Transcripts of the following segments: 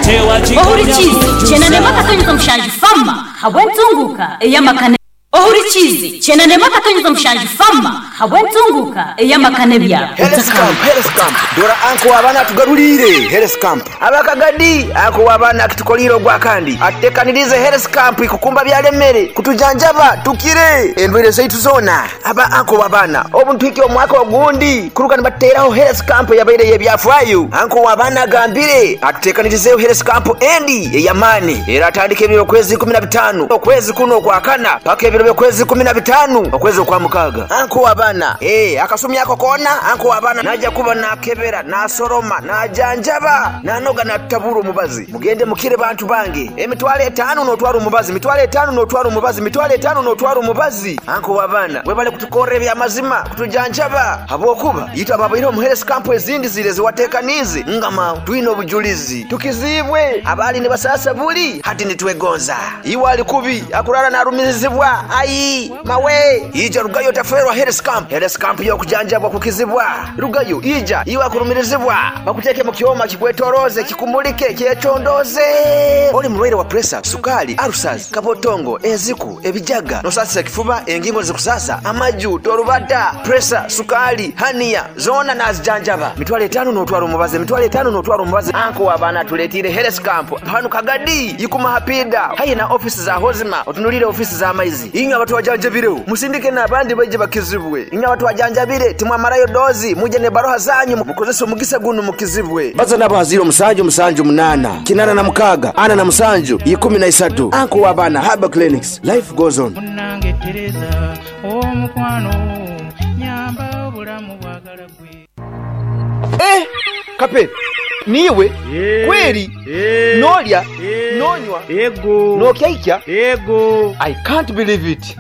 Ohurikiize kyenda n'emwe akatonyeza mushanju Fama habw'entunguka ey'amaka ne Ohurikiize 91.7 Fama habw'entunguka ey'amaka n'ebyaro. Health Camp, Health Camp, dora anko w'abaana atugaruriire Health Camp. Abakagadi, anko w'abaana akitukoliire ogwakandi atutekaniriize Health Camp ikukumba byalemere kutujanjaba tukire endwaire zaitu zoona. Aba anko w'abaana obu nituhikya omwaka ogundi kuruga nibatuteraho Health Camp eyabaire ey'ebyafaayo. Anko w'abaana agambire atutekanirizeeho Health Camp endi ey'amaani eratandika ebiro by'okwezi 15 okwezi kunu okwakana paka ebiro by'okwezi 15 okwezi okwamukaaga. Anko w'abaana, ee akasumi ako koona anko w'abaana naija kuba nakebera, nasoroma, najanjaba, nanoga natutabura omubazi. Mugende mukire bantu bange. 50,000 n'otwara omubazi, 50,000 n'otwara omubazi, 50,000 n'otwara omubazi. Anko w'abaana webale kutukorra ebyamazima, kutujanjaba. Habwokuba itwe ababaire omu Health Camp ezindi zire ziwatekaniize ngama twine obujulizi. Tukiziibwe abaali nibasasa buli hati nitwegonza. Iwe ali kubi akurara narumirizibwa ai mawe ija rugayo taferwa Health Camp. Health Camp y'okujanjabwa kukizibwa. Rugayo ija iwe akurumirizibwa bakuteke mu kyoma kikwetoroze kikumulike kyecondoze. Oli mulwaire wa pressure, sukali, ulcers, kabotongo, enziku, ebijaga, nosasa kifuba, engingo zikusasa, amaju, torubata, pressure, sukali, hania, zona nazijanjaba. 50,000 n'otwara omubazi, 50,000 n'otwara omubazi. Anko w'abaana tuletire Health Camp. Hanu Kagadi, ikuma hapida. Hayi na ofisi za Hozima, otunulire ofisi za maizi. Inywe abantu wajanjabire, musindike n'abandi baije bakizibwe. Inywe abantu wajanjabire, timwamarayo dozi, muje ne baroha zanyu, mukozese omugisa guno mukizibwe. Baza nabo haziro 7 7 8, 86, 47, 13. Anko w'abaana Herbal Clinics. Life goes on. Munange Tereza, omukwano, nyamba obulamu bwagala gwe. Kape, niwe kweri nolya nonywa Ego. nokyaikya. Ego. I can't believe it.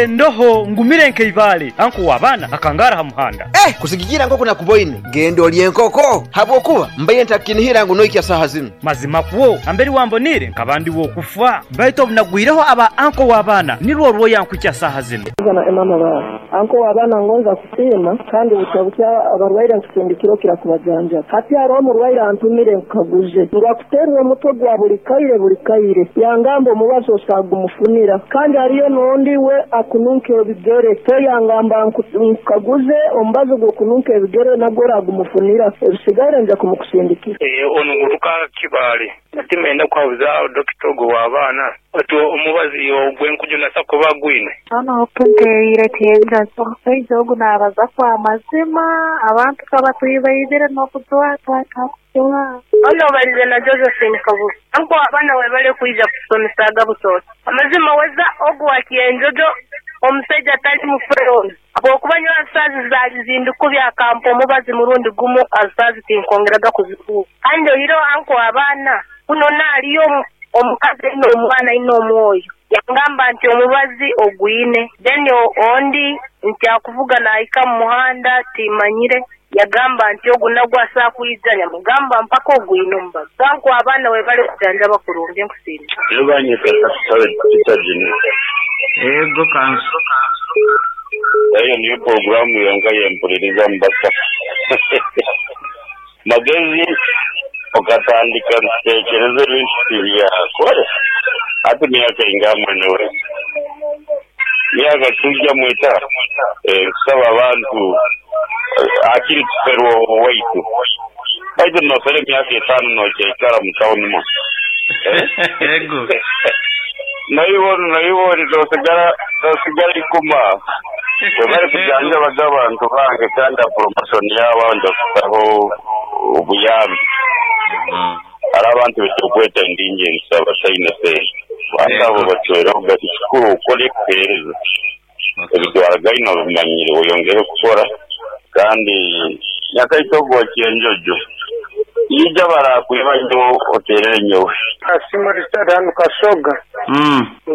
Ndoho ngumire nkeivale anko w'abaana akangara ha muhanda. Kusigikira nkoko nakuboine genda olye enkoko habwokuba mbaire ntakinihira ngu noikya saha zinu. Mazima kwo amberi wambonire nkaba ndi wokufa baitu obunagwireho aba anko w'abaana nirwo rwoyankwikya saha zinu. Na emama baabo anko w'abaana ngonza kusiima kandi butya butya abarwaire nkusindikira okira kubajanjaba. Hati hariho omurwaire antumire nkaguze ngu akuterwa omutwe gwa buli kaire buli kaire yangamba omubazi osagumufunira kandi hariyo n'ondi we akununka ebigere so yangamba nkaguze omubazi gw'okununka ebigere nagwo oragumufunira ebisigaire nja kumukusindikira. Ono ngutuka Kibaale natimenda kwabuza dokita ogwo w'abaana ati omubazi ogw'enkujunasa kuba gwine. Hano opunteire tiyenjazo omushaija ogu naabaza kwa mazima abantu kabatwibaibire n'okutwatwatwa. Ono balize na Josephine Kabuga anko abaana we bali kwija kusomesaga butoto amazima weza ogu wa Kienjojo omusajja atali mufere habwokuba nyowe asaazi zaali zindikubya akampa omubazi murundi gumu asaazi tinkongeraga kuzikuba kandi oiro anko abaana kuno naaliyo omukazi ino omwana ino omwoyo yangamba nti omubazi ogwine then ondi nti akuvuga naahika mu muhanda timanyire yagamba nti ogu nagwo asobola kwija nyamugamba mpaka ogwine omubazi anko abaana we bali kujanjaba kurungi nkusiima. Ego kanso. Eyo niyo programu yonka yempuliriza mbasa. Magezi okatandika ntekereza ebintu byakore hati myaka inga mwene we myaka tujja mwita kusaba abantu akiri tuferwa waitu baitu nofere myaka 5 nokyaikara mu tawuni mo. Ego. Nayibona tosigara ikuma webale kujanjabaga abantu bange kandi promotion yabo ndakusaho obuyambi. Hari abantu betukweta indingenzi abataine sente abantu abo batweraho gati kikuru ukore kuhereza ebitwara gaino bimanyire oyongere kukora kandi nyakaitogo Kienjojo ija barakwiba nyo oterere nyowe. Kasimu Richard hano Kasoga.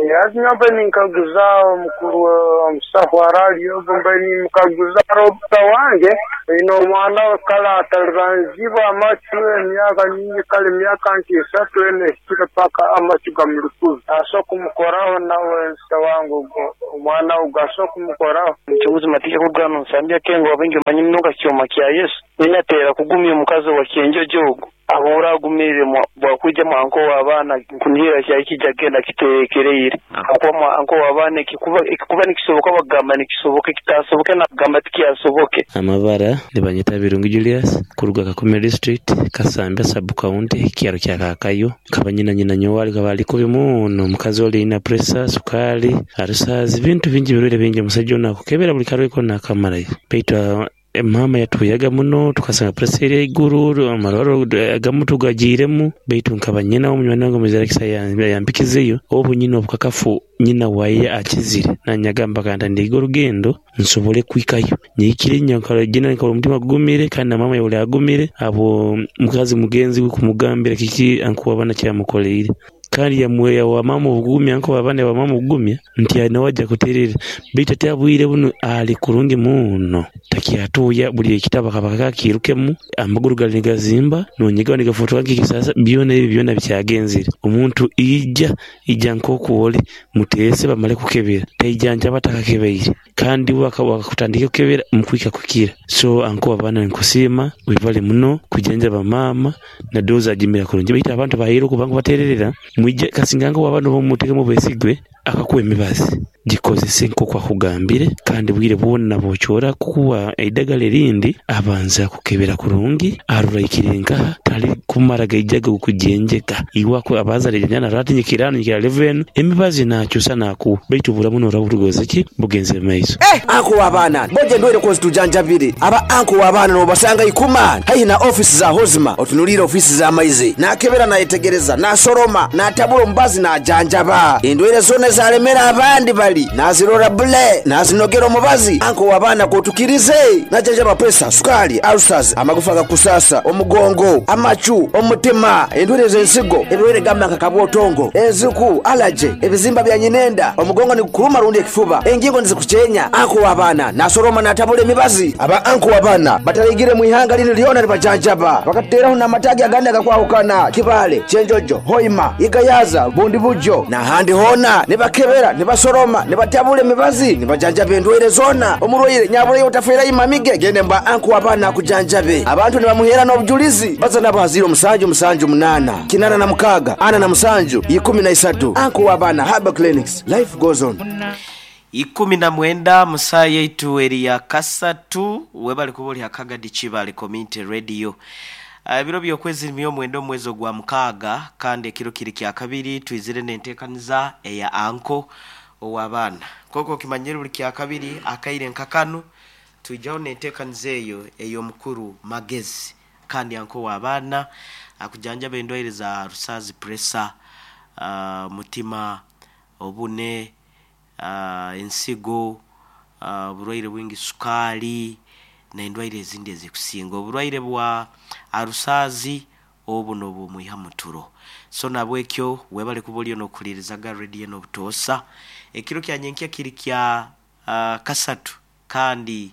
Yazi mbe ninkaguza omukuru omusaho araliyo mbe nimukaguza Robert wange ino omwana we kale atalibanzibwa amacu emyaka nyingi kale emyaka nka 3 ene paka amacu gamurikuza aso kumukoraho nawe nsa wangu omwana ugaso kumukoraho. Mchunguzi matika kugano nsambia kengo wabengi manyi mnoka kyoma kya Yesu ninatera kugumya omukazi wa Kienjojo. ogu ahuura agumiire bwakwija mwa anko w'abaana nkunihira kyaikija kugenda kiterekereire habwokuba mwa anko w'abaana ekikuba ekikuba nikisoboka bakugamba nikisoboka ekitasoboke nakugamba tikyasoboke. Amabara nibanyeta Birungi Julius kuruga Kakumiro district, Kasambya sub county, kyaro kya Kakayo. Nkaba nyina nyina nyowe akaba ali kubi muno, omukazi oli aina pressure, sukali, alusazi, bintu bingi birwaire bingi omusaija onu akukebera buli karwaire kona akamarayo. Baitu maama yatuhuyaga muno tukasanga pressure eri haiguru, amarwaro agamu tugagiiremu baitu nkaba nyina munywani wange Muzirakisa yampikizeyo obu nyine obukakafu nyina waye akizire nanye agamba kantandike orugendo nsobole kuhikayo. Nyahikire nyenkara omutima gugumire kandi na maama yahurra agumire habwo mukazi mugenzi we kumugambira kiki anko w'abaana ekyamukoleire. Kandi yawa maama obugumya anko w'abaana yawa maama obugumya nti nawe aija kuterera baitu hati obwire bunu ali kurungi muno takyatuuya buli ekitabu akaba akirukemu amaguru gali nigazimba nonyegaho nigafotoka nk'ekisasa byona ebi byona bikyagenzere. Omuntu ija ija nk'oku oli muteese bamale kukebera taija nkyaba atakakebeire kandi wakutandika kukebera mukwika kukira. So anko w'abaana ninkusiima webale muno kujanjaba maama na dozi agimira kurungi baitu abantu bahaire okuba nkubatererera mwije kasinga anko w'abaana omutekemu obwesigwe akakuwa emibazi gikozese nk'oku akugambire kandi bwire bwona bw'okyora kukuwa eidagala erindi abanza kukebera kurungi arora aikire nkaha tali kumara gaijaga kujenjeka iwe abanza arejanja narora ati nyikira hanu nyikira level enu emibazi nakyusa nakuwa baitu oburamu norora burugoze ki bugenze mumaiso. Anko w'abaana boja endwaire kozitujanjabire aba anko w'abaana nobasanga ikuma haihi na ofisi za Hozima otunuliire ofisi za maizi nakebera nayetegereza nasoroma natabura omubazi najanjaba endwaire zona ezalemera abandi bali nazirora bule nazinogera omubazi anko w'abaana kotukirize najanjaba pressure, sukali, ulcers, amagufa gakusasa, omugongo, amacu, omutima, endwaire z'ensigo, ebirwaire gamba nka kabwotongo, enziku, allergy, ebizimba bya nyinenda, omugongo nigukuruma rundi ekifuba, engingo nizikukyenya. Anko w'abaana nasoroma natabura emibazi. Aba anko w'abaana bataraigire mu ihanga linu lyona nibajanjaba bakatuteraho n'amatagi agandi agakwahukana Kibale, Kyenjojo, Hoima, Igayaza, Bundi Bujo n'ahandi hoona nibakebera nibasoroma nibatabura emibazi nibajanjaba endwaire zona. Omurwaire nyabureyo otafeerayo mamige gende mba anko w'abaana akujanjabe. Abantu nibamuheera n'obujulizi baza nabo haziro musanju musanju munana kinana na mukaga ana na musanju ikumi na isatu. Anko w'abaana Herbal Clinics, life goes on. 19 musaa yaitu eri ya kasatu webali kuba oli Hakagadi Kibale Community Radio. Ebiro by'okwezi myomwenda omwezi ogwa mukaaga kandi ekiro kiri kya kabiri twizire n'enteekaniza eya anko ow'abaana. Koko okimanyire buli kya kabiri akaire nkakanu twijaho n'enteekaniza eyo ey'omukuru Magezi kandi anko w'abaana akujanjaba endwaire za rusazi, pressure, mutima, obune, ensigo, oburwaire bwingi, sukaali n'endwaire ezindi ezikusinga. Oburwaire bwa arusazi obu n'obumwiha muturo. So nabwekyo webale kuba oliyo n'okuhulirizaga radio n'obutoosa. Ekiro kya nyenkya kiri kya kasatu kandi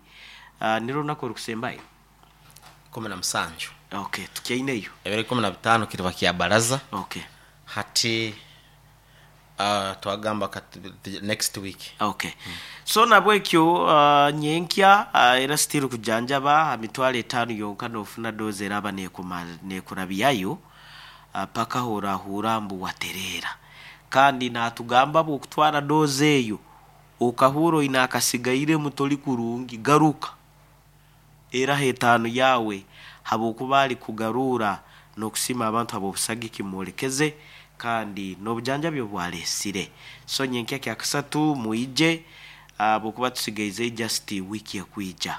nirwo runaku orukusembayo. 17. Okay, tukyaineyo. Ebiro 15 kiriba kya baraza. Okay. Hati twagamba next week. Okay. So nabwekyo nyenkya era still kujanjaba ha mitwalo etaano yonka nofuna dozi eraba nekurabyayo paka horahura mbu waterera. Kandi natugamba bwokutwara dozi eyo okahura oine akasigairemu tori kurungi garuka era etaano yawe habwokuba ali kugarura n'okusiima abantu ab'obusagiki mwolekeze kandi n'obujanjabi obwalesire. So nyenkya kya kasatu mwije habwokuba tusigaize just wiki ekwija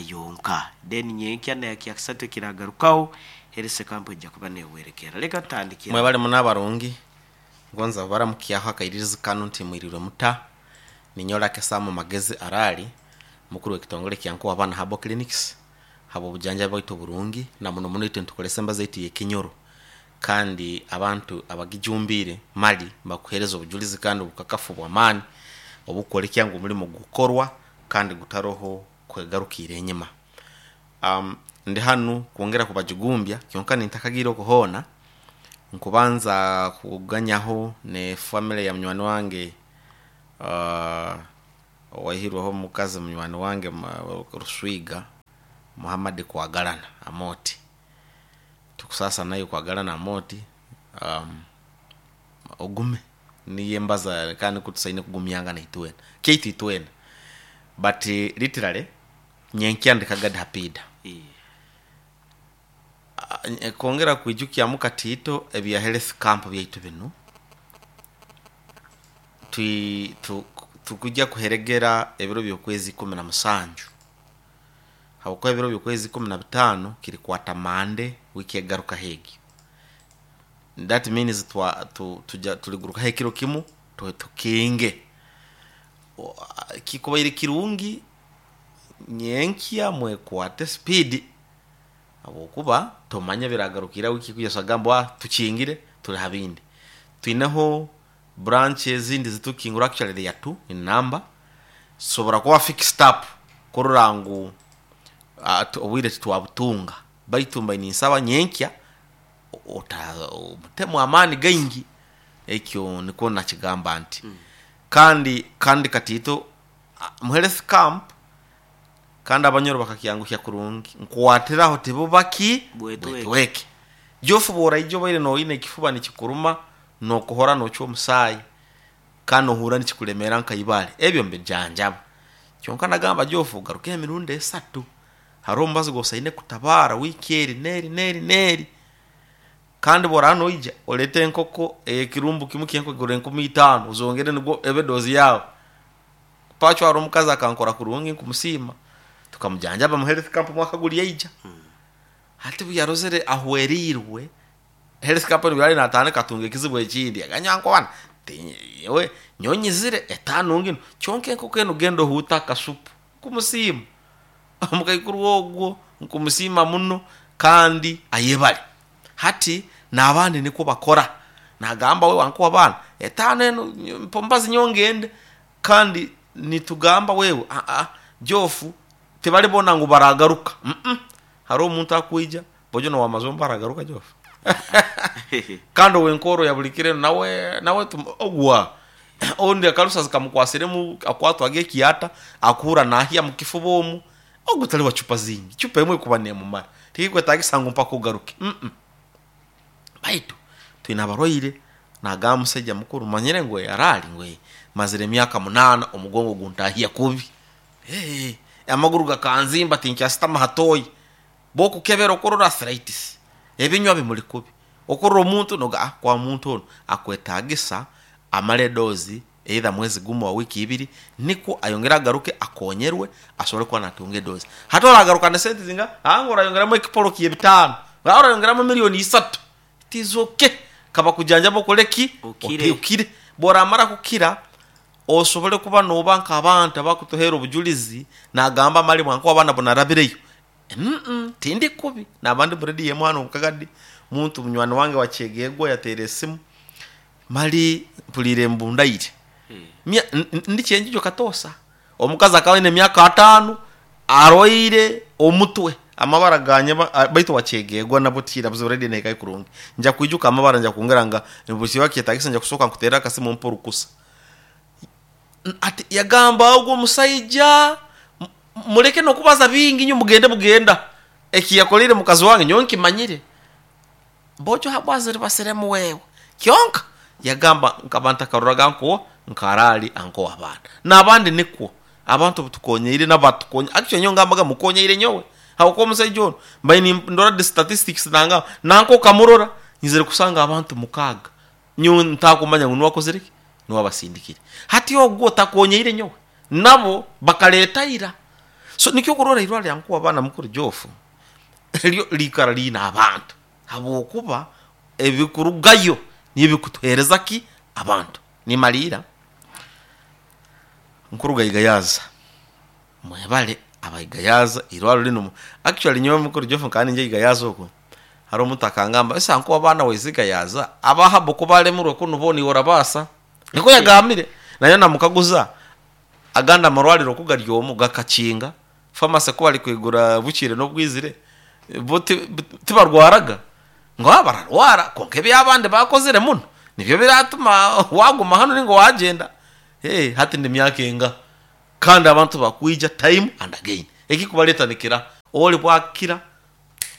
yonka. Then nyenkya na kya kasatu ekiragarukaho Herese Camp ejja kuba newerekera. Leka tutandikira. Mwebale muno abarungi ngonza baramukyaho akairirizi kanu nti mwirirwe muta. Ninyowe Lucky Sam Magezi Arali mukuru w'ekitongole kya Nkuwa Abaana Herbal Clinics habw'obujanjabi bwaitu oburungi na muno muno itwe nitukoresa embazo yaitu ey'ekinyoro kandi abantu abagijumbiire mali bakuheereza obujulizi kandi obukakafu bw'amaani obukwolekya ngu omulimo gukorwa kandi gutaroho kwegarukiira enyima. Ndi hanu kwongera kubajugumbya kyonka nintakagiire oku hoona nkubanza kuganyaho ne family ya munywani wange owaihirweho omukazi munywani wange Ruswiga Muhammad Kwagalana Amoti. Tukusasa naye kwagala namoti, ogume niyo embaza kandi kutusaine kugumyangana itwena kyaitu itwena, but literally nyenkya ndikagadi hapida. Kwongera kwijukyamu katiito ebya health camp byaitu binu, tukujja kuheregera ebiro by'okwezi 17, habwokuba ebiro by'okwezi 15 kirikwata Mande wiiki egarukaho egi. That means tuligurukaho ekiro kimu tukinge. Kikubaire kirungi nyenkya mwekwate speed, habwokuba tomanya biragarukira wiiki ekwija osagamba tukingire tuli ha bindi. Twineho branch ezindi zitukingura, actually they are two in number, zisobora kuba fixed up kurora ngu obwire titwabutunga, baitu mbaire ninsaba nyenkya mutemu amaani gaingi, ekyo nikwo nakigamba nti. Kandi katiito mu health camp kandi abanyoro bakakyanguhya kurungi, nkwatiraho tibubaki bwetweke. Jofu bw'oraija obaire noine ekifuba nikikuruma, nokuhora nocwa omusaayi kandi nohurra nikikulemeera nka ibaale, ebyo mbijanjaba. Kyonka nagamba Jofu ogarukeho emirundi esatu, haroho omubazi gw'osaine kutabaara wiiki eri n'eri n'eri n'eri. Kandi bw'oraaba noija oleete enkoko ey'ekirumbu kimu ky'enkoko egura 5000 ozongere nigwo ebe doozi yaawe. Pacho haroho omukazi akankora kurungi nkumusiima, tukamujanjaba mu health camp omwaka guri yaija. Hati obu yarozere ahwereirwe, health camp obu yali natandika atunga ekizibu ekindi, yagamba nyowe nyowe nyowe nyizire etaano nginu, kyonka enkoko enu genda ohuute akasupu. Nkumusiima omukaikuru ogwo, nkumusiima muno kandi ayebare. Hati n'abandi nikwo bakora, nagamba we wankuha abaana etaano enu mpa omubazi nyowe ngende, kandi nitugamba wewe Jofu tibalibona ngu baragaruka, haroho omuntu akwija bojo nowamazombe aragaruka Jofu kandi owenkoro ya buli kiro nawe ogwa ondi akarusazi kamukwasiremu akwatwaga ekyata akuhurra nahya mukifuba omu, ogu tali wa cupa zingi, cupa emwe ekuba nemumara, tikikwetagisa ngu mpaka ogaruke, baitu twine abarwaire, nagamba musaija mukuru manyire ngu arali ngu mazire emyaka 8 omugongo guntahya kubi, amaguru gakanzimba tinkyasitama ha toyi, bwokukebera okurora arthritis, ebinywa bimuli kubi, okurora omuntu noga kwa muntu onu akwetagisa amale edozi either mwezi gumu oba wiiki ibiri nikwo ayongere agaruke akonyerwe asobole kuba natunga edozi. Hati oragaruka ne sente zinga? Ngu orayongeramu ekipolo ky'ebitaano, orayongeramu milioni isatu, it is okay, kabakujanjabe okole ki? Okire. Bworamara kukira osobole kuba noba nk'abantu abakutuheera obujulizi nagamba mali mwankuba abaana bunarabireyo, tindi kubi, naba ndi mu rediyo emu hanu Kagadi, muntu munywani wange wa Kyegegwa yateera esimu, mali mpuliire mbu ndaire. Ndi kyenjojo katoosa. Omukazi akaba aine emyaka ataano arwaire omutwe, amabara ganyeba baitu wa Kyegegwa nabwo tihaine buzibu rediyo nehikayo kurungi. Nja kwijuka amabara nja kwongera nga bwekiba kyetagisa nja kusooka nkuteerere akasimu ompe orukusa. Ati yagamba ogu omusaija muleke n'okubaza bingi inywe mugende bugenda, ekiyakoleire mukazi wange nyowe nkimanyire. Bojo habwaziribasiremu wewe. Kyonka yagamba nkaba ntakaroraga nko nkarali anko abaana. N'abandi nikwo abantu obutukonyeire nabo batukonye, actually nyowe ngambaga mukonyeire nyowe habwokuba omusaija onu mbaire nindora the statistics nangamba nanka okamurora nyizire kusanga abantu 6 nyowe ntakumanya ngu nuwe akozire ki? Nuwe abasindikire. Hati ogwo takonyeire nyowe, nabo bakaleta ira. So nikyo okurora eirwaro lya nkuwa abaana mukuru Jofu ryo liikara liine abantu habwokuba ebikurugayo nibyo bikutuheereza ki? Abantu. Nimaliira nkuruga Igayaza, mwebale aba Igayaza eirwaro linu, actually nyowe mukuru Jofu nkaba ninja Igayaza okwo, haroho omuntu akangamba ese ankuwa abaana waize Igayaza, aba habo ku baremirwe kunu bo niiwe orabaasa? Nikwo yagambire. Nayo namukaguza agandi amarwariro oku gari omu gakakinga, pharmacy ku bari kwigura bukire n'obwizire, bo tibarwaraga? Ngu bararwara kwonka ebi abandi bakozire muno nibyo biratuma waguma hanu ninga wagyenda. Hati ndi myaka enga kandi abantu bakwija time and again. Ekikubareeta nikira ori bwakira.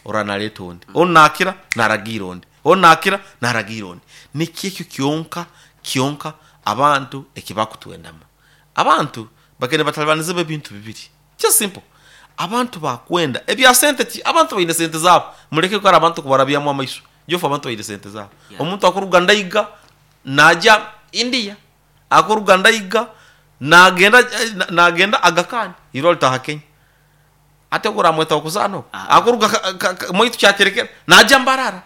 Orora naleeta ondi, onu nakira naragiira ondi, onu nakira naragiira ondi. Nikyo ekyo kyonka kyonka abantu ekibakutwendamu. Abantu bagenda batalibanizibwa ebintu bibiri, just simple. Abantu bakwenda ebya sente ti abantu baine sente zaabo, muleke kara abantu kubarabyamu amaiso. Jofu abantu baine sente zaabo. Omuntu akuruga Ndaiga naija India, akuruga Ndaiga nagenda nagenda Aga Khan, irwe alitaaha Kenya. Ati ogu oramweta w'okuzaana ogu? Akuruga mwaitu Kyaterekera naija Mbarara.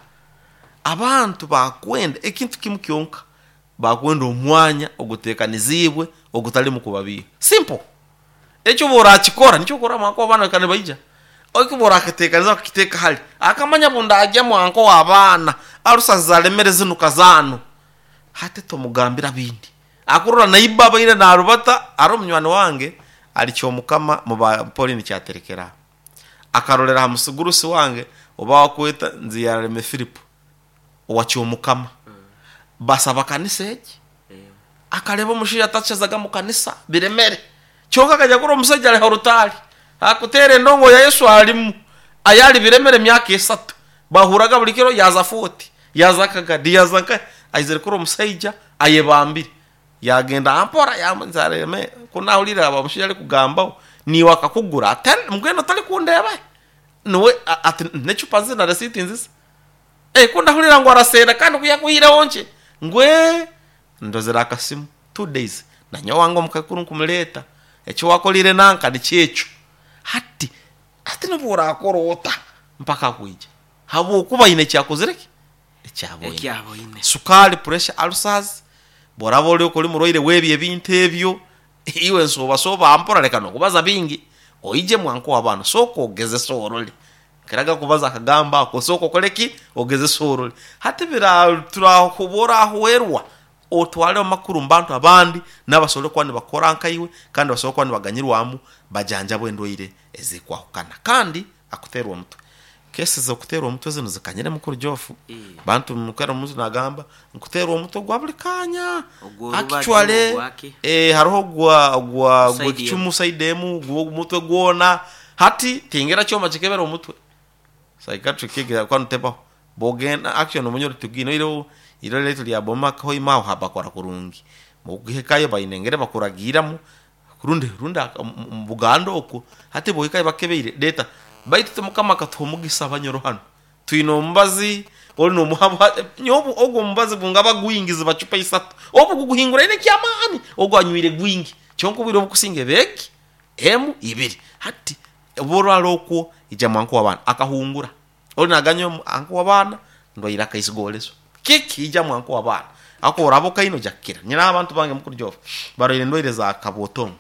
Abantu bakwenda ekintu kimu kyonka, bakwenda omwanya oguteekaniziibwe ogutalimu kubabiiha. Simple. Ekyo obu orakikora, nikyo okurora mwanka w'abaana baikara nibaija. Eki obu orakiteekaniza okakiteeka hali, akamanya obu ndaagya mwanka w'abaana, alusa zalemere zinu kazaano. Hati tomugambira bindi. Akurora naiba abaire narubata, haroho munywani wange ali Kyomukama mu ba Pauline Kyaterekera. Akarolera ha musigurusi wange oba wakweta Nziyarareme Philip owa Kyomukama. Basaba kanisa egi. Akareba omushaija atakyazaga mu kanisa biremere. Kyonka akaija kurora omusaija ari ha rutaari akutera endongo ya Yesu arimu ayari biremere emyaka esatu. Bahuraga buri kiro yaaza Fort, yaaza Kagadi, yaaza nkahi. Aizire kurora omusaija ayebambire. Yaagenda mpora yaamubuuza ati, ku naahuriire omushaija arikugambaho, niiwe akakugura? Ati, mbwenu torikundeeba? Niwe ati, n'ecupa nzizi na risiiti nzizi. Ku ndahurira ngu araseera kandi ku yaakwihireho nkye, ngu ee, ndozire akasimu, 2 days, nanye owange omukaikuru nkumureeta, eki waakoreire nanka nikyo ekyo. Hati Hati nobu orakora ota mpaka akwija habwokuba aine eki akozire ki? Eki aboine. Eki aboine. Sukaali, pressure, ulcers, bworaba ori ori murwaire w'ebyo ebintu ebyo, iwe nsooba sooba mpora leka n'okubaza bingi, oije mwanka ow'abaana sooka ogezese orole. Nkiraga kubaza akagambo ako, sooka okole ki? Ogezese orole. Hati bira obu orahwerwa otware amakuru omu bantu abandi n'abasobora kuba nibakora nkaiwe kandi basobora kuba nibaganyirwamu bajanjabwe endwaire ezikwahukana. Kandi akuteerwa omutwe. Kesi z'okuteerwa omutwe zinu zikanyire mukuru Geoff. Bantu mukara omuntu nagamba nkuteerwa omutwe gwa buri kanya. Ogw'orubaju Actually ogwaki? hariho ogwa ogwa Side gw'ekicumu side emu, gw'omutwe gwona. Hati tingira kyoma kikebera omutwe. Psychiatric egi kwanu tebaho. Bwogenda actually nomanya oti tugine oihireho eirwariro ryaitu rya Boma Hoima aho habakora kurungi. Bwokuhikayo baine engeri bakuragiiramu rundi rundi omu Buganda okwo hati bwohikayo bakukebeire reeta baitu itwe Mukama akatuha omugisa abanyoro hanu twine omubazi ori nomuha nyowe ogu omubazi gungaba gwingi ziba cupa isatu obu guguhinguraine eky'amaani ogu anywire gwingi kyonka obwire obukusinga eba egi emu ibiri hati obu orwara okwo ija mwanka ow'abaana akahungura Ori naganya omu anko w'abaana ndwaire akaisigorezo. Kiki? Ija mu anko w'abaana. Ahakuba oraba okaine oja kukira. Nyine abantu bange mukuru Geoff barwaire endwaire za kabwotongo.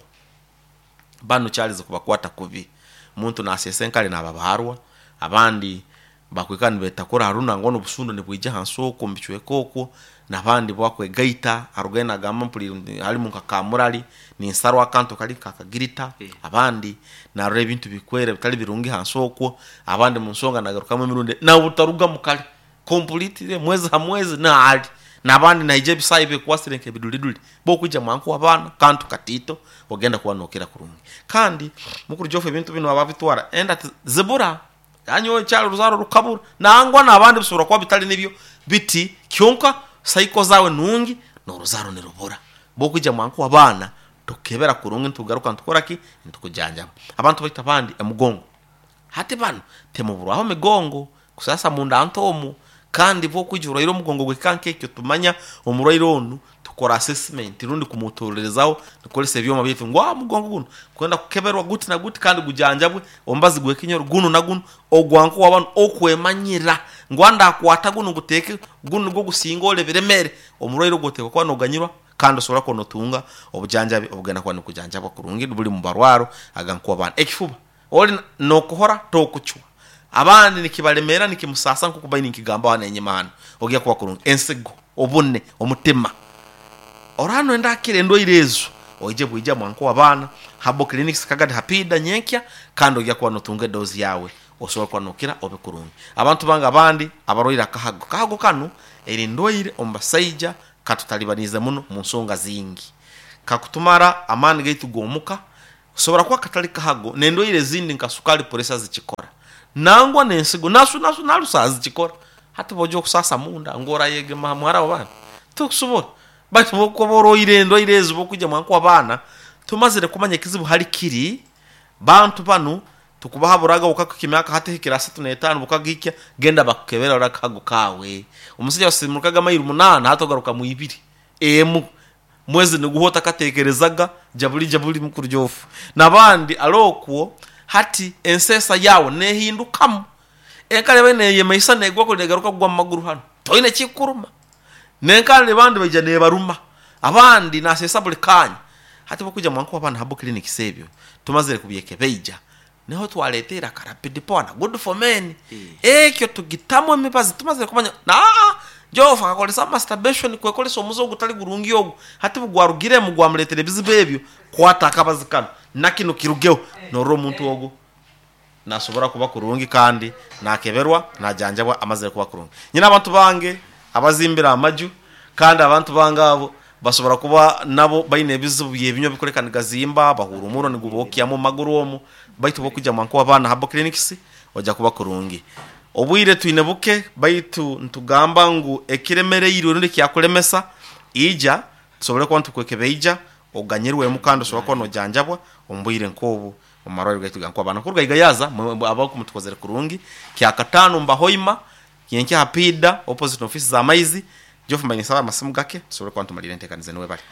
Banu kyarize kubakwata kubi. Omuntu naseesa enkare nababaarwa, abandi bakwikara nibetakura harundi nangwa n'obusundo nibwija ahansi okwo omu bicweka okwo, n'abandi bwakwegaita arugayo nagamba mpuriire harimu nka kamurari ninsarwa akantu kari nka akagirita, abandi narora ebintu bikwera bitari birungi ahansi okwo, abandi munsonga nagarukamu emirundi nabutarugamu kare completely mwezi ha mwezi naali nabandi naija ebisaayi bikwasire nk'ebiduriduri bokwija mwankuha abaana kantu katiito ogenda kuba nokira kurungi. Kandi mukuru Geoff ebintu binu ababitwara enda tizibura Nanyowe nkyali oruzaaro rukabura. Nangwa n'abandi bisobora kuba bitali nibyo biti, kyonka saiko zaawe nungi n'oruzaaro nirubura. Bwokwija mwankuha abaana, tukukebera kurungi nitugaruka nitukora ki? Nitukujanjaba. Abantu baitu abandi emigongo. Hati banu timuburwaho migongo, kusasa munda nto omu, kandi bwokwija orwaire omugongo gw'ekika nk'ekyo tumanya omurwaire onu tukora assessment rundi kumutolerezaho nitukozesa ebyoma byaitu ngu omugongo gunu gwenda kukeberwa guti na guti kandi gujanjabwe omubazi gw'ekinyoro gunu na gunu ogwankuha banu okwemanyira ngu ndakwata gunu nguteeke gunu nigwo gusinga ole ebiremere omurwaire ogu oteekwa kuba noganyirwa kandi osobora kuba notunga obujanjabi obugenda kuba nibukujanjabwa kurungi buli mubarwaro agankuha banu. Ekifuba ori nokuhora tokucwa abandi nikibaremeera nikimusaasa nk'oku mbaire ninkigambaho hanu enyima hanu ogya kuba kurungi. Ensigo, obune, omutima. Oraba noyenda hakira endwaire ezo, oije bwija mwanka ow'abaana, Herbal Clinics Kagadi Hapiida nyenkya kandi oija kuba notunga edoozi yaawe osobole kuba nokira obe kurungi. Abantu bange abandi abarwaire akahago, akahago kanu eri ndwaire omu basaija katutalibaniize muno mu nsonga zingi. Kakutumara amaani gaitu g'omuka, Kasobora kuba katali kahago, n'endwaire ezindi nka sukaali, puresa zikikora. Nangwa n'ensigo nasu nasu nalusa zikikora. Hati bw'oja okusasa munda ngu orayegema ha muhara w'abandi tokusobora. Baitu bw'okuba oroire endwaire ezi bw'okwija mwanku w'abaana tumazire kumanya ekizibu hali kiri, bantu banu tukubahaburaga bukakukya emyaka hati ehikire asatu n'etaano bukagihikya genda bakukebere barole akahago kaawe. Omusaija wasisimukaga mailo munaana hati ogarukamu ibiri, emu. Mwezi niguhwa otakateekerezaga jabuli jabuli mukuru Jofu. N'abandi al'okwo hati enseesa yaawe neehindukamu. Enkari ebaire neeyemaisa neegwa kuri negaruka kugwa mu maguru hanu, toine ekikukuruma. N'enkari abandi baija neebaruma, abandi naaseesa buri kaanya. Hati bw'okwija mwankuha abaana Herbal Clinics ebyo tumazire kubyekebeija, niho twaleeta aka Rapid Power na Good for Men. Ekyo tugitamu emibazi tumazire kumanya aa Jofu akakoresa masturbation kwekoresa omuze ogutari gurungi ogu, hati bugwarugiremu gwamureetera ebizibu ebyo, kwata akabazi kanu na kinu kirugeho, norora omuntu ogu nasobora kuba kurungi kandi nakeberwa najanjabwa amazire kuba kurungi. Nyine abantu bange abazimbire amaju kandi abantu bange abo basobora kuba nabo baine ebizibu by'ebinywa bikureka nigazimba, bahuura omurro nigubokyamu omu maguru omu, baitu bw'okwija mwanku w'abaana Herbal Clinics oja kuba kurungi. Obwire twine buke baitu nitugamba ngu ekiremereirwe rundi ekyakulemesa ija tusobole kuba nitukwekebeija oganyirwemu kandi osobole kuba nojanjabwa omu bwire nk'obu omu marwariro gaitu ga Nkwabana. Kuruga Igayaza abaku mutukozere kurungi. Kyakataano Mbahoima, nyenkya ha Piida opposite n'ofiisi za maizi. Geoff mbaire ninsaba amasimu gake tusobole kuba nitumalira enteekaniza enu. Webale.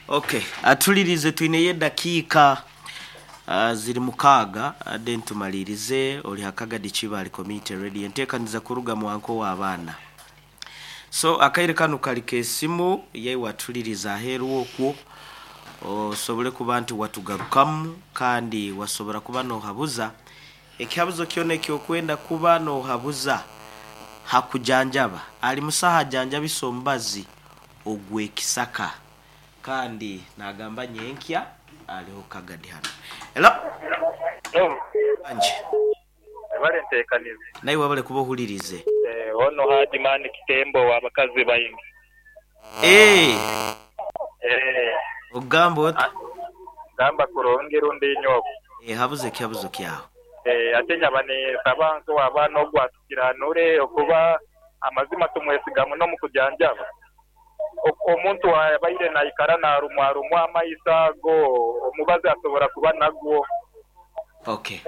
Ok, atulirize twineyo edakiika ziri mukaaga then tumalirize. Ori ha Kagadi Kibaale Community Radio enteekaniza kuruga mwanka ow'abaana. So akaire kanu kari k'esimu yaiwe atulirize aheeru okwo osobole kuba nti watugarukamu kandi wasobora kuba nohabuza ekihabuzo kyona ekyokwenda kuba nohabuza ha kujanjaba. Ali musaho ajanjabisa omubazi ogw'ekisaka kandi nagamba nyenkya aliho Kagadi hanu. Hello. Wangi. Webale ntekaniza. Naiwe webale kuba ohulirize. Ono Haji Man Kitembo owa bakazi baingi. Eeh. Ogamba ota? Ngamba kurungi rundi inye okwo. Eeh habuza ekihabuzo kyawe. Eeh ate nyaba ninsaba nk'owabaana ogwo atukiranure okuba amazima tumwesiga muno omu kujanjaba. Omuntu abaire naikara narumwarumwa amaiso ago, omubazi asobora kuba nagwo. Ok,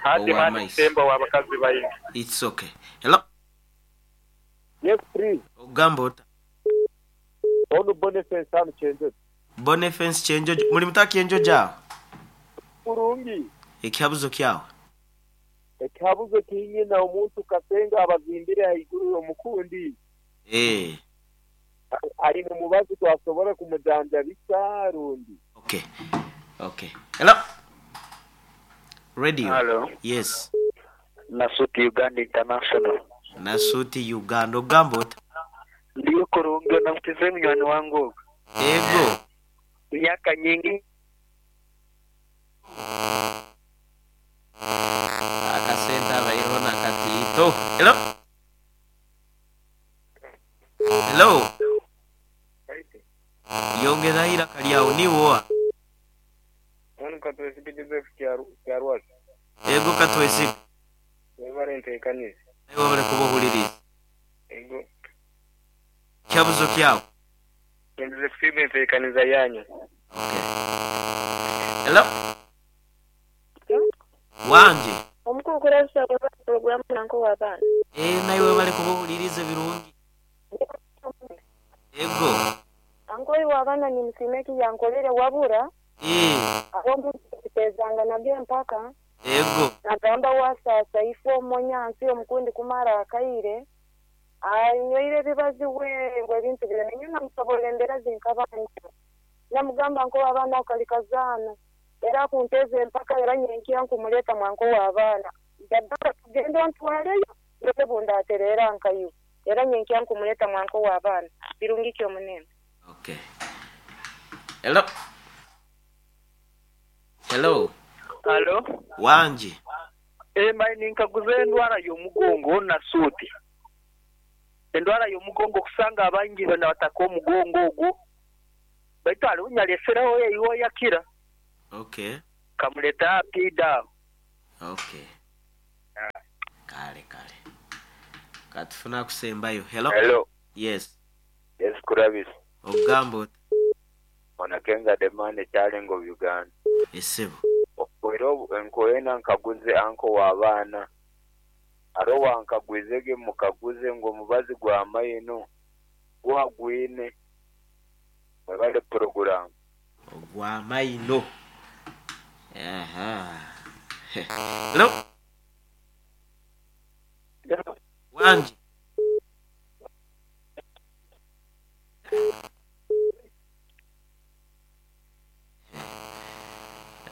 Hati owa mani maiso. kutemba owa bakazi baingi. It's ok. Hello. Yes please. Ogamba ota? Onu Bonifence hanu Kyenjojo. Bonifence Kyenjojo. Muli muta Kyenjojo aho? Kurungi. Ekihabuzo kyawe? Ekihabuzo kinyina omuntu Kasenga abazimbire haiguru y'omukundi. Eeh. Aine omubazi gwasobora kumujanjabisa rundi? Ok ok hello radio Halo. yes. Nasuti Uganda International. Nasuti Uganda ogamba ota? Ndiyo kurungi onabukize munywani wange ogwo. Ego. Emyaka nyingi. Akasente abaireho nakatiito. Hello. Hello. Yongeraho eiraka lyawe niiwe oha? Mbwenu Katwesige Joseph Kyarwasi. Ego Katwesige. Webale ntekanize. Naiwe webale kuba ohuririize. Ego. Ekihabuzo kyawe? Nyendize kusiima entekaniza yanyu. Okay. Hello. Wangi. Omukulu Kurabisa webale pulogulaamu nanka ow'abaana. Eeh naiwe webale kuba ohuririize birungi. Ego. Anko iwe abaana nimusiima eki yankorire wabura Eeh. ab'omuntu tukiteezanga nabyo empaka. Ego. Nagamba wasaasa ifwe omonyansi omukundi kumara akaire anyweire ebibazi we ngu ebintu byona nyowe namusoborra embeera zinkaba ndimu. Namugamba nko abaana ako kali kazaano era akunteeza empaka era nyenkya nkumuleeta mwanka ow'abaana. Yagamba tugende ontwaleyo ndole bundatereera nkaiwe era nyenkya nkumuleeta mwanka ow'abaana. Birungi ki omunembe? Okay. Hello. Hello. Halo. Wangi. Mbaire ninkaguza endwara y'omugongo na suuti. Endwara y'omugongo okusanga abaingi bena bataka omugongo ogwo baitu haliwo nyalesereho eiho yakira. Okay. Kamuleta aha piida aho. Okay. Kale kale. Katufuna akusembayo. Hello. Hello. Yes. Yes Kurabis. Ogamba ota? Ona Kenza the man ekyalenga obu Uganda. Esebo. Era enkoyena nkaguze anko wa baana. Ate wankagwize ghe mukaguze ngu omubazi gwa maino guha gwine? Mwebale pulogulaamu. Ogwa maino. Aha. Hello. Wangi.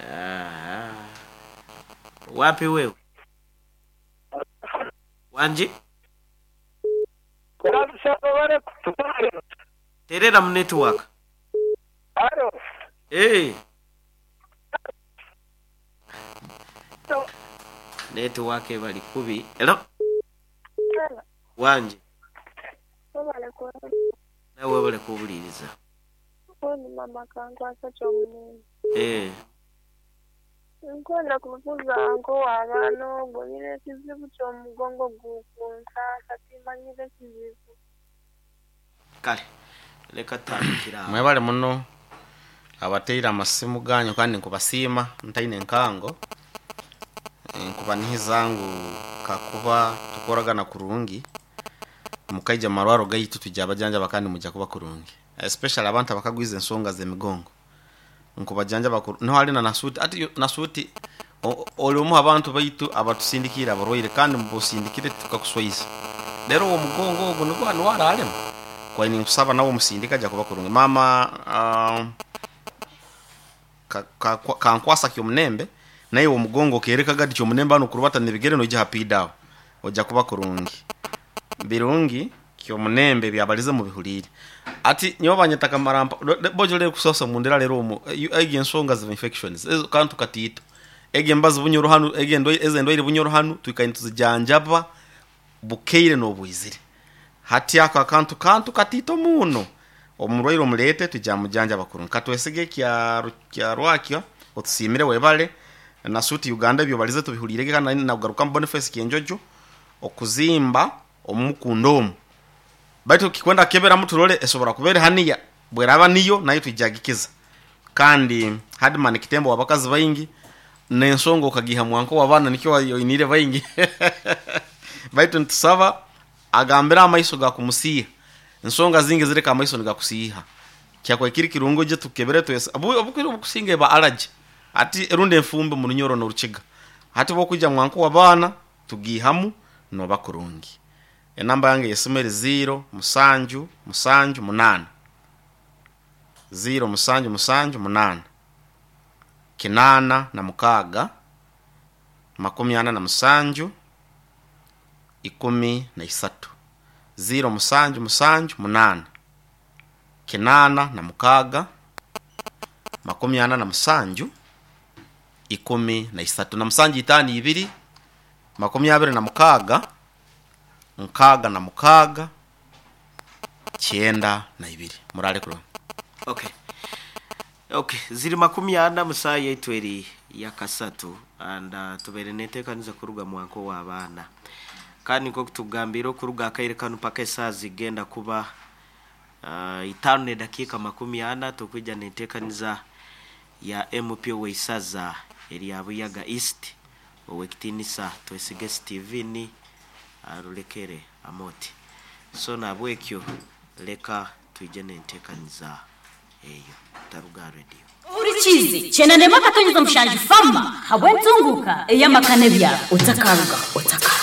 Aha. Wapi wewe? Wangi. Terera mu network. Alo. Hey. Network ebali kubi. Hello. Wangi. Nawe webale kuwuliriza. Mama kankwasa ky'omunene. Eh. Nkwenda kubuuza anko w'abaana ogwo nyina ekizibu ky'omugongo gukunsaasa timanyire kizibu. Kale leka tutandikira awo. Mwebale muno abateire amasimu ganyu kandi nkubasiima ntaine enkango nkubanihiza ngu kakuba tukoragana kurungi mukaija mumarwaro gaitu twija bajanjaba kandi mujja kuba kurungi, especially abantu abakagwiza ensonga z'emigongo nkubajanjaba niho hali na nasuti ati nasuti oli omu abantu baitu abatusindikire abarwaire kandi mubusindikire tukakuswaiza rero uwo mugongo ogwo nigwo niwararema kwaye ninkusaba nawe omusindika ajja kuba kurungi. Mama kankwasa kyomunembe naye omugongo kereka gadi kyomunembe hano kurubata nibigere noija hapidawo ojja kuba kurungi birungi kyomunembe byabalize mubihulire ati nyowe banyeta kamarampa bojo lero kusosa mundera lero omu egi ensonga za infections ezo kantu katito egi embazi bunyoro hanu egi endo eze endoire bunyoro hanu twikaine tuzijanjaba bukeire n'obwizire hati ako akantu kantu katito muno omurwaire omulete tujamujanjaba kurungi katwesige kya rwakyo otusimire webale nasuti Uganda ebyo balize tubihulire kandi nagaruka Boniface Kyenjojo okuzimba omukundo omu baitu kikwenda kebera mutulole esobora kubere haniya bweraba niyo nayo tujagikiza kandi Hadman Kitembo wabakazi baingi nensongo okagiha mwanko wabana nikyo oinire baingi baitu ntusaba agambira amaiso gakumusiha ensonga zingi zireka amaiso nigakusiha kyakwa kiri kirungo je tukebere twese obukiri obukusinga ba allergy ati erunde enfumbe mu runyoro n'orukiga hati bokuja mwanko wabana tugihamu noba kurungi. Enamba yange yesimu eri 0 7 7 8 0 7 7 8 86 47 13 0 7 7 8 86 47 13 na musanju 5 2 26 66 92 murale kulo. Okay. Okay, ziri 40 musayi yaitu eri yakasatu and tubere netekaniza kuruga mwanko wa abaana kandi nko kutugambira okuruga akaire kanu paka esaa zigenda kuba 5:40 tukwija netekaniza ya MP weisaza eri ya Buyaga East owekitinisa twesige Steven arulekere amoti so nabwekyo leka tuije nentekaniza eyo taruga radio Urichizi chenanema katonyeza mshanji fama habwentunguka eyamakane bya otakaruga.